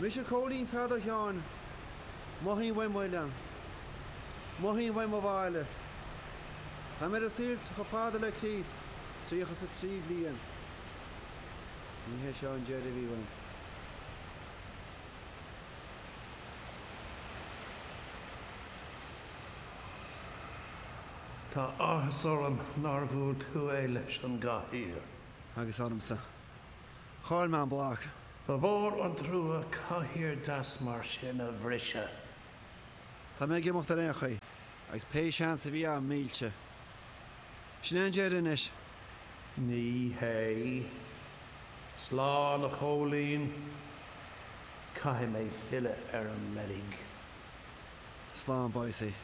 Mise Cóilín Pheadair Sheáin. Mothaím uaim m'oileán. Mothaím uaim mo bhaile. Tá mé ar an saol chomh fada le Críost, 33 bliain. Ní hé seo an deireadh a bhí uaim. Tá áthas orm nár bhuail tú é leis an gcathaoir. Agus ormsa. Chaill mé an bloc. Ba mhór an trua cathaoir deas mar sin a bhriseadh. Tá mé ag imeacht ar aon chaoi, agus pé seans a bhí agam millte. Sin é an deireadh anois. Ní hé. Slán, a Chóilín. Caithfidh mé filleadh ar an reilig. Slán, Boycie.